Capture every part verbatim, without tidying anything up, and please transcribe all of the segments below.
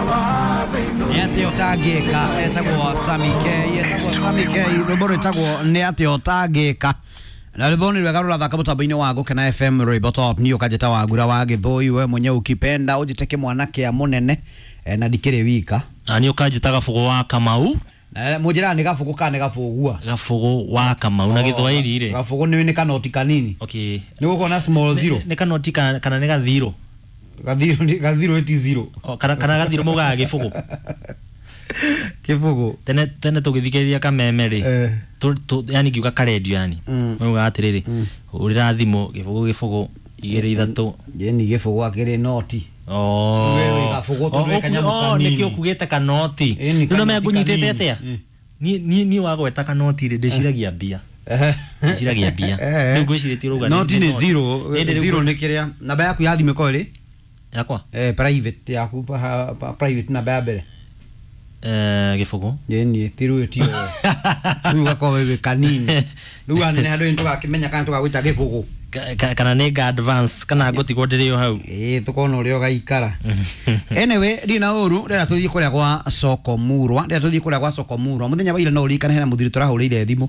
Nĩ atĩa ũtangĩka, etagwo Sammy K, etagwo Sammy K, rwĩmbo rwĩtagwo nĩ atĩa ũtangĩka. Na rwĩmbo nĩ rwega rũrathaka mũtambo-inĩ wa Gũkena F M rwĩmbo top niĩ ũkanjĩta Wagura wa Gĩthũi, we mwenyewe ukipenda ũnjĩte kĩmwana kĩa mũnene, eh, na ndikĩrĩ wika. Na niĩ ũkanjĩta Gabũgũ wa Kamau. Na mũnjĩraga nĩ Gabũgũ kana nĩ Gabũgua? Gabũgũ wa Kamau na Gĩthwaĩri rĩ. Gabũgũ nĩ nĩ kanoti kanini. Okay. Nĩ gũkorwo na small zero. Nĩ kanoti kana kana nĩ gathiro? Gathiro gathiro ĩti zero. O, kana kana gathiro maugaga gĩbũgũ. Kĩbũgũ. Tene tene tũgĩthikĩrĩria kameme rĩ. Eh. Tu, tu, yani ngiuga karendio yani. Mm. Maugaga atĩrĩrĩ, hũrĩra thimũ gĩbũgũ gĩbũgũ igĩrĩ ithatũ. Yeni gĩbũgũ akĩrĩ noti. Oh. We wĩ gabũgũ tondũ wĩ kanyamũ Oh, kanini. nĩkĩo ũkugĩte kanoti. Ĩni, Rĩu no kanoti mekũnyitĩte kanini. atĩa? Mm. Niĩ niĩ niĩ wagweta kanoti rĩ ndĩciragia mbia. Ndĩciragia mbia. Rĩu ngwĩcirĩtie ũrauga nĩ- Noti nĩ noti. zero. Ĩndĩ rĩu Zero ngwĩ- nĩ kĩrĩa. Namba yaku ya thimũ ĩkorwo ĩrĩ? Yakwa? Eh, private yaku, pa, pa, private namba ya mbere. Eh, gĩbũgũ. Yeni, ti rĩu ti ũũ. Rĩu ũgakorwo wĩ kanini. Rĩu anene handũ nĩ tũgakĩmenya kana tũgagwĩta gĩbũgũ. Ka- ka- kana nĩ nga advance kana ngũtigwo ndĩrĩ o hau. Ĩĩ tũkona ũrĩa ũgaikara. Anyway, ndirĩ na ũru, ndĩrenda tũthiĩ kũrĩa gwa Soko Murwa, ndĩrenda tũthiĩ kũrĩa gwa Soko Murwa. Mũthenya wa ira no ũririkane hena mũthuri tũrahũrĩire thimũ,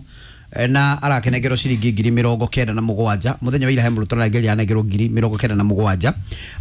eh, na arakenengerwo ciringi ngiri mĩrongo kenda na mũgwanja. Mũthenya wa ira he mũndũ tũrarengeria anengerwo ngiri mĩrongo kenda na mũgwanja.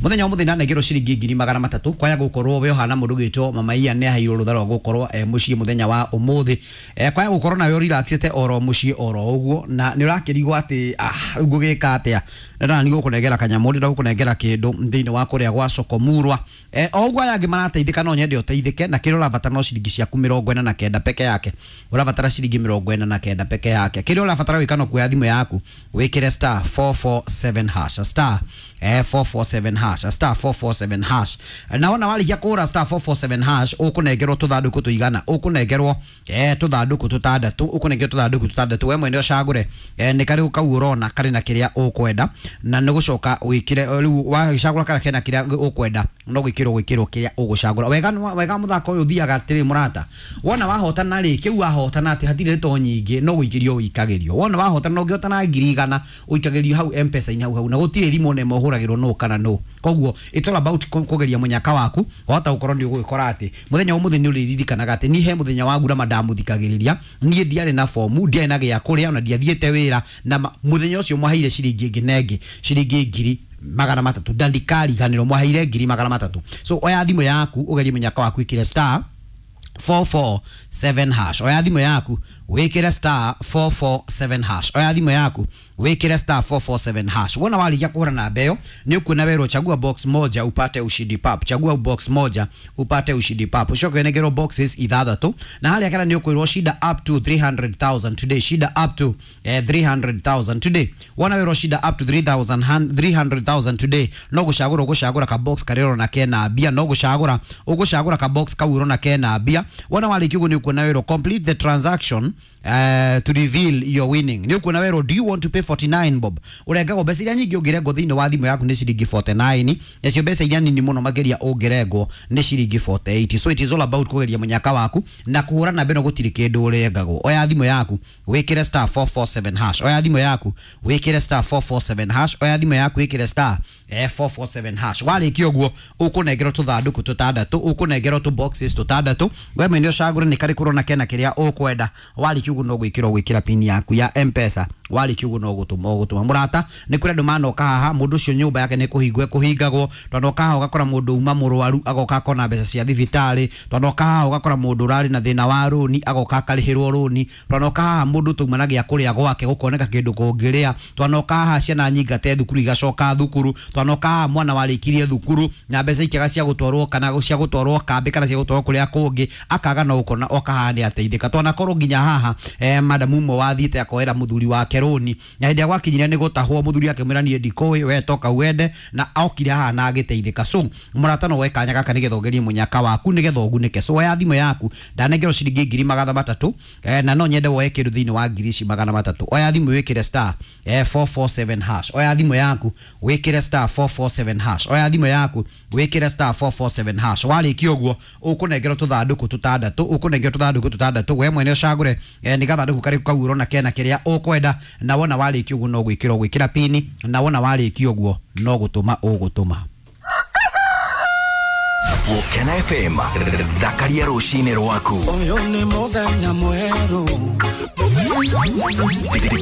Mũthenya wa mũthenya anengerwo ciringi ngiri magana matatũ. Kwaya gũkorwo we ũhana mũndũ ũgwĩtwo Mama Ian nĩ aheirwo rũtha rwa gũkorwo e mũciĩ mũthenya wa ũmũthĩ. Eh, kwaya gũkorwo nawe ũrelaxĩte oro mũciĩ oro ũguo, na nĩ ũrakĩrigwo atĩ, ah, rĩu ngũgĩka atĩa? Ndĩrona nĩ gũkũnengera kanyamũ, ndĩrenda gũkũnengera kĩndũ thĩinĩ wa kũrĩa gwa Soko Murwa. Eh, o ũguo aya angĩ marateithĩka, no nyende ũteithĩke, na kĩrĩa ũrabatara no ciringi ciaku mĩrongo ĩna na kenda peke yake. Ũrabatara ciringi mĩrongo ĩna na kenda peke yake. Kĩrĩa ũrabatara gwĩka no kuoya thimũ yaku, wĩkĩre star four four seven hash, star, eh, four four seven hash, star four four seven hash. Na wona warĩkia kũhũra star four four seven hash, ũkũnengerwo tũthandũkũ tũigana, ũkũnengerwo, eh, tũthandũkũ tũtandatũ, ũkũnengerwo tũthandũkũ tũtandatũ, we mwene ũcagũre, eh, nĩ karĩkũ kau ũrona karĩ na kĩrĩa ũkwenda, na nĩ gũcoka wĩkĩre, rĩu wagĩcagũra karĩa kena kĩrĩa ũkwenda, no gwĩkĩrwo gwĩkĩrwo kĩrĩa ũgũcagũra. Wega nĩ wa-, wega mũthako ũyũ ũthiaga atĩrĩ mũrata, wona wahotana rĩ, kĩu wahotana atĩ hatirĩ ndeto nyingĩ, no gũikĩrio ũikagĩrio. Wona wahotana, no ũngĩhotana ngiri igana, ũikagĩrio hau M-Pesa-inĩ hau hau, na gũtirĩ thimũ ona ĩmwe ũhũragĩrwo nũ kana nũ. Koguo it's all about kũ-, kũgeria mũnyaka waku, wahota gũkorwo nĩ ũgũgĩkora atĩ mũthenya wa ũmũthĩ nĩ ũrĩririkanaga atĩ niĩ he mũthenya wa ngurama ndamũthikagĩrĩria, niĩ ndiarĩ na bomu, ndiarĩ na gĩa kũrĩa, ona ndiathiĩte wĩra, na ma-, mũthenya ũcio mwaheire ciringi ĩngĩ na ĩngĩ, ciringi ngiri magana matatũ, ndandikariganĩrwo mwaheire ngiri magana matatũ. So oya thimũ yaku ũgerie mũnyaka waku, ĩkĩre star four four seven hash. Oya thimũ yaku wĩkĩre star four four seven hash. Oya thimũ yaku wĩkĩre star four four seven hash. Wona warĩkia kũhũra namba ĩyo, nĩ ũkuona werwo chagua box moja upate ushindi pap, chagua box moja upate ushindi pap. Ũcoke ũnengerwo boxes ithathatũ, na harĩa kana nĩ ũkwĩrwo shida up to three hundred thousand today, shida up to, eh, three hundred thousand today. Wona werwo shida up to three thousand hun-, three hundred thousand today, no gũcagũra ũgũcagũra ka box karĩa ũrona kena mbia, no gũcagũra ũgũcagũra ka box kau ũrona kena mbia. Wona warĩkia ũguo nĩ ũkuona werwo complete the transaction, eh, to reveal your winning. Nĩ ũkuona werwo do you want to pay forty-nine bob? Ũrengagwo mbeca iria nyingĩ ũngĩrengwo thĩinĩ wa thimũ yaku nĩ ciringi forty-nine, nacio mbeca iria nini mũno makĩria ũngĩrengwo nĩ ciringi forty-eight. So it is all about kũgeria mũnyaka waku na kũhũra namba ĩno gũtirĩ kĩndũ ũrengagwo. Oya thimũ yaku wĩkĩre star four four seven hash. Oya thimũ yaku wĩkĩre star four four seven hash. Oya thimũ yaku wĩkĩre star, eh, four four seven hash. Warĩkia ũguo ũkũnengerwo tũthandũkũ tũtandatũ, ũkũnengerwo tũ boxes tũtandatũ, we mwene ũcagũre nĩ karĩkũ ũrona kena kĩrĩa ũkwenda. Warĩkia ũguo no gwĩkĩrwo gwĩkĩra pin yaku ya M-Pesa. Warĩkia ũguo no gũtũma ũgũtũma. Mũrata, nĩ kũrĩ andũ manoka haha, mũndũ ũcio nyũmba yake nĩ kũhingwo ĩkũhingagwo. Twanoka haha ũgakora mũndũ uma mũrwaru agoka akona mbeca cia thibitarĩ. Twanoka haha ũgakora mũndũ ũrarĩ na thĩna wa rũni agoka akarĩhĩrwo rũni. Twanoka haha mũndũ tũma na gĩa kũrĩa gwake gũkoneka kĩndũ kũngĩrĩa. Twanoka haha ciana nyingate thukuru igacoka thukuru. Twanoka haha mwana warĩkirie thukuru na mbeca ikĩaga cia gũtwarwo kana cia gũtwarwo kambĩ kana cia gũtwarwo kũrĩa kũngĩ, akaga no gũkona oka haha nĩ ateithĩka. Twanakorwo nginya haha, eh, madamu ũmwe wathiĩte akoera mũthuri wake rũni, na hĩndĩ ĩrĩa gwakinyire nĩ gũtahwo, mũthuri akĩmwĩra niĩ ndikũĩ, we toka wende, na okire haha na agĩteithĩka. So mũrata no woe kanya gaka nĩgetha ũgerie mũnyaka waku nĩgetha ũgunĩke. So oya thimũ yaku, ndanengerwo ciringi ngiri magana matatũ, eh, na no nyende woe kĩndũ thĩinĩ wa ngiri ici magana matatũ. Oya thimũ wĩkĩre star, eh, four four seven hash. Oya thimũ yaku wĩkĩre star four four seven hash. Oya thimũ yaku wĩkĩre star four four seven hash. Warĩkia ũguo ũkũnengerwo tũthandũkũ tũtandatũ, ũkũnengerwo tũthandũkũ tũtandatũ, we mwene ũcagũre, eh, nĩ gathandũkũ karĩkũ kau ũrona kena kĩrĩa ũkwenda, na wona warĩkia ũguo no gwĩkĩrwo gwĩkĩra pini, na wona warĩkia ũguo no gũtũma ũgũtũma. Gũkena F M thakaria rũcinĩ rwaku. Ũyũ nĩ mũthenya mwerũ.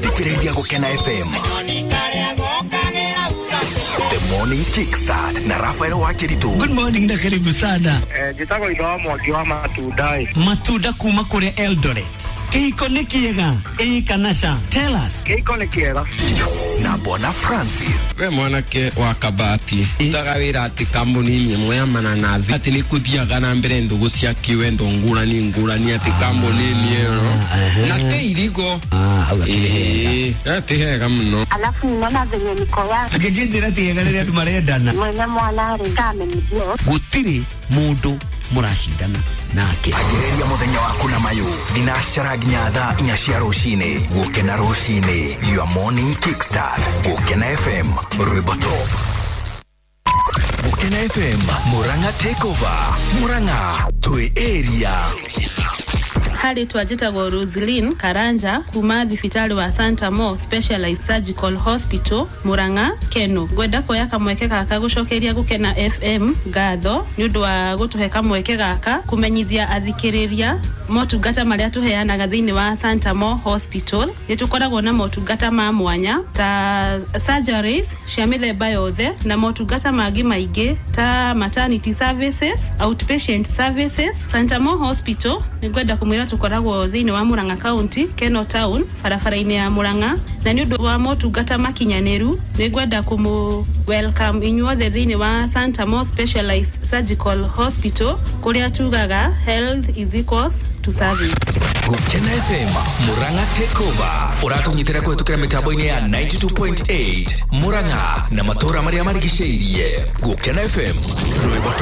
Thikĩrĩria Gũkena F M. The Morning Kickstart na Rafael Wakiritu. Good morning na karibu sana. Eh, njĩtagwo Itho wa Mwangi wa matunda. Matunda kuma kũrĩa Eldoret. Kĩhiko nĩ kĩega ĩĩ kana ca? Tell us. Kĩhiko nĩ kĩega. Na Bwana Francis. We mwanake wa Kabati utaga wĩra atĩ kambuni-inĩ ĩmwe ya mananathi atĩ nĩ kũthiaga na mbere ndũgũ cia kĩwendo ngũrani ngũrani atĩ kambuni-inĩ ĩyo na te irigo. Ĩĩ ti hega mũno. Alafu ninaona venye niko ya Angĩnjĩra ti hega rĩrĩa andũ marendana. Mwene mwana rĩ kamenyithio. Gũtirĩ mũndũ mũracindana nake. Agĩrĩria mũthenya waku na mayũ thinacara nginya thaa inya cia rũcinĩ. Gũkena rũcinĩ, your morning kickstart. Gũkena F M, rwĩmbo top. Gũkena F M, Murang'a takeover. Murang'a twĩ area. Harĩ twanjĩtagwo Roslyn Karanja kuma thibitarĩ wa Santa Mo Specialized Surgical Hospital Murang'a Keno. Ngwenda kuoya kamweke gaka gũcokeria Gũkena F M ngatho nĩ ũndũ wa gũtũhe kamweke gaka kũmenyithia athikĩrĩria motungata marĩa tũheanaga thĩinĩ wa Santa Mo Hospital. Nĩ tũkoragwo na motungata ma mwanya ta surgeries cia mĩthemba yothe na motungata mangĩ maingĩ ta maternity services, outpatient services. Santa Mo Hospital nĩ ngwenda kũmwĩra tũkoragwo thĩinĩ wa Murang'a County, Keno Town, barabara-inĩ ya Murang'a, na nĩ ũndũ wa motungata makinyanĩru nĩ ngwenda kũmũ welcome inyuothe thĩinĩ wa Santa Mo Specialized Surgical Hospital kũrĩa tugaga health is equals to service. Gũkena F M Murang'a takeover ũratũnyitĩra kũhetũkĩra mĩtambo-inĩ ya ninety two point eight Murang'a na matũũra marĩa marigicĩirie. Gũkena F M rwĩmbo.